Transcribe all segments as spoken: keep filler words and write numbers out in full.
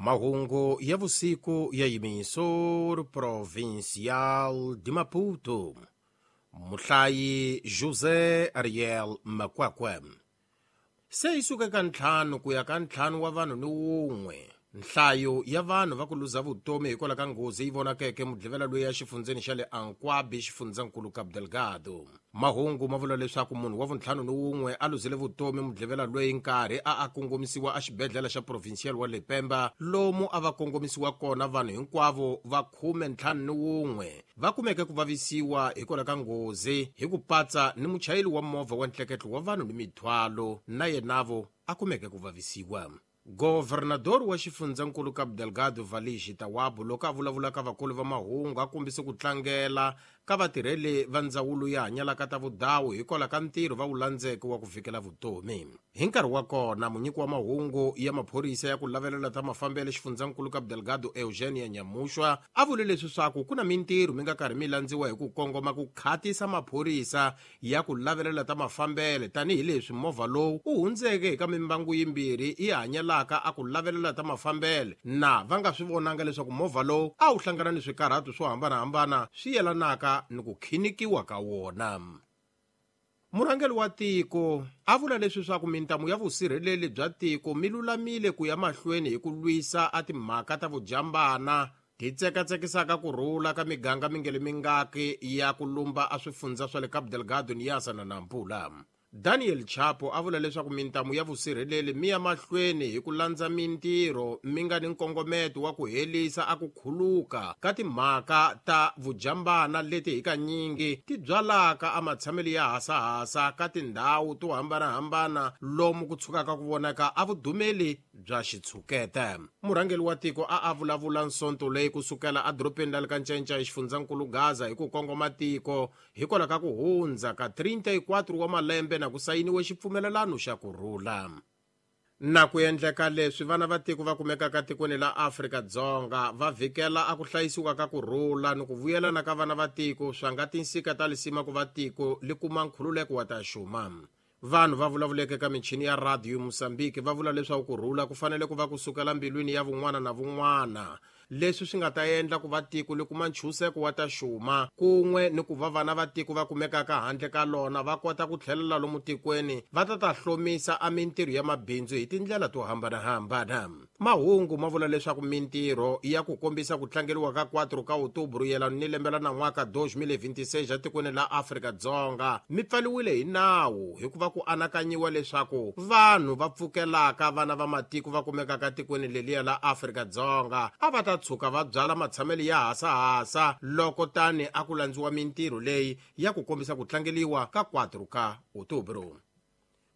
Mahungu ya vusiku ya Emissor Provincial de Maputo. Muhlayi José Ariel Makwakwe. Se yi suka ka ntlhanu ku ya ka ntlhanu wa vanhu ni wun'we. Nhlayo ya vanhu va ku luza vutomi hikwalaho ka nghozi yi vonakeke mudlivela loyi ya xifundzeni xa le Ankwabi xifundzankulu Cabo Delgado. Mahungu ma vula leswaku munhu wa vuntlhanu ni wun'we a luzile vutomi mudlivela loyi nkarhi a a kongomisiwa exibedhlele xa provincial wa le Pemba lomu a va kongomisiwa kona vanhu hinkwavo va khume ntlhanu ni wun'we va kumeke ku vavisiwa hikwalaho ka nghozi hi ku patsa ni muchayeri wa movha wa ntleketlo wa vanhu ni mithwalo na yenavo a kumeke ku vavisiwa. Governador wa xifundzankulu Cabo Delgado Valigi Tawabu loko a vulavula ka vakulu va mahungu a kombise ku tlangela ka vatirheli va ndzawulo ya hanyalaka ta vudawu hikwalaho ka ntirho va wu landzeke wa ku vikela vutomi. Hi nkarhi wa kona munyiki wa mahungu ya maphorisa ya ku lavelela ta mafambelo xifundzankulu Cabo Delgado Eugenia Nyamushwa a vule leswi swaku ku na mintirho mi nga karhi mi landziwa hi ku kongoma ku khatisa maphorisa ya ku lavelela ta mafambelo tanihileswi movha lowu u hundzeke hi ka mimbangu yimbirhi yi hanyalaka a ku lavelela ta mafambelo na va nga swi vonanga leswaku movha lowu a wu hlangana ni swikarhato swo hambanahambana swi yelanaka ni ku khinikiwa ka wona. Murhangeri wa tiko a vula leswi swaku mintamu ya vusirheleli bya tiko mi lulamile ku ya mahlweni hi ku lwisa a timhaka ta vujambana ti tsekatsekisaka ku rhula ka miganga mingele mingaki ya ku lumba a swifundza swa le Cabo Delgado ni Yasa na Nampula. Daniel Chapo a vula leswaku mintamu ya vusirheleli mi ya mahlweni hi ku landza mintirho mi nga ni nkongometo wa ku helisa a ku khuluka ka timhaka ta vujambana leti hi kanyingi ti byalaka a matshamelo ya hasahasa ka tindhawu to hambanahambana lomu ku tshukaka ku vonaka a vudumeli bya xitshuketa. Murhangeri wa tiko a a vulavula nsonto leyi kusukela edorobeni ra le ka Ncenca xifundzankulu Gaza hi ku kongoma tiko hikwalaho ka ku hundza ka trinta e quatro wa malembe na ku sayiniwe xipfumelelano xa ku rhula. Na ku endleka leswi vana va tiko va kumekaka tikweni la Afrika-Dzonga va vhikela a ku hlayisiwa ka ku rhula ni ku vuyelana ka vana va tiko swa nga tinsika ta lisima ku va tiko li kuma nkhululeko wa ta xuma. Vanhu va vulavuleke ka michini ya radio Mozambique va vula leswaku ku rhula ku fanele ku va kusukela mbilwini ya vun'wana na vun'wana leswi swi nga ta endla ku va tiko li kuma nchuseko wa ta xuma kun'we ni ku va vana va tiko va kumekaka handle ka lona va kota ku tlhelela lomu tikweni va ta ta hlomisa a mintirho ya mabindzu hi tindlela to hambanahambana. Mahungu ma vula leswaku mintirho ya ku kombisa ku tlangeriwa ka quatro ka Outubro yelana ni lembe la nan'waka dois mil e vinte e seis etikweni la Afrika-Dzonga mi pfaliwile hi nawu hikuva ku anakanyiwa leswaku vanhu va pfukelaka vana va matiko va kumekaka tikweni leliya la Afrika-Dzonga a va ta tshuka va byala matshamelo ya hasahasa loko tani a ku landziwa mintirho leyi ya ku kombisa ku tlangeliwa ka quatro ka Outubro.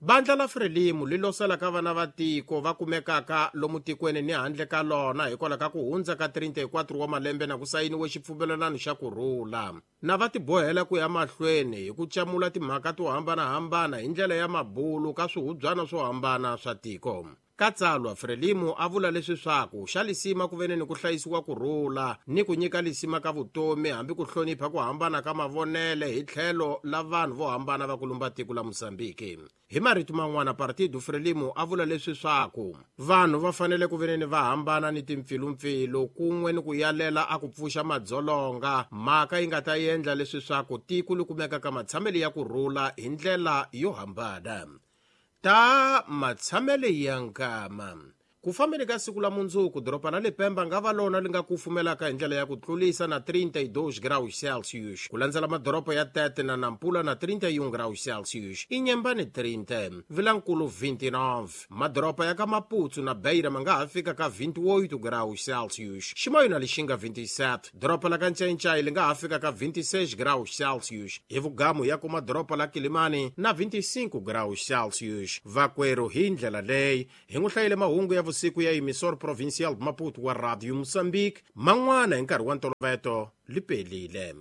Bandla la Frelimo li losela ka vana va tiko va kumekaka lomu tikweni ni handle ka lona hikwalaho ka ku hundza ka trinta e quatro wa malembe na ku sayiniwe xipfumelelano xa ku rhula. Na va tibohela ku ya mahlweni hi ku camula timhaka to hambanahambana hi ndlela ya mabulu ka swihubyana swo hambana swa tiko. Ka tsalwa Frelimo a vula leswi swaku xa lisima ku vene ni ku hlayisiwa ku rhula ni ku nyika lisima ka vutomi hambi ku hlonipha ku hambana ka mavonele hi tlhelo la vanhu vo hambana va ku lumba tiko la Mozambique. Hi marito man'wana Partido Frelimo a vula leswi swaku vanhu va fanele ku vene ni va hambana ni timpfilumpfilu kun'we ni ku yalela a ku pfuxa madzolonga mhaka yi nga ta endla leswi swaku tiko li kumeka ka matshamelo ya ku rhula hi ndlela yo hambana. Ta matshamelo ya nkama. Ku fambeni ka siku la mundzuku doroba la le Pemba nga va lona li nga kufumelaka hi ndlela ya ku tlulisa na trinta e dois graus Celsius ku landzela madoroba ya Tete na Nampula na trinta e um graus Celsius Inhambane trinta, Vilankulu vinte e nove, madoroba ya ka Maputo na Beira ma nga ha fika ka vinte e oito graus Celsius Chimoio na Lixinga vinte e sete, doroba la ka Ncencai li nga ha fika ka vinte e seis graus Celsius hi vugamu ya kuma doroba la Kilimani na vinte e cinco graus Celsius. Vakwerhu hi ndlela leyi hi n'wi hlayile mahungu ya vusiku ya Emissor Provincial Maputo wa Radio Mozambique man'wana hi nkarhi wa ntoloveto li pelile.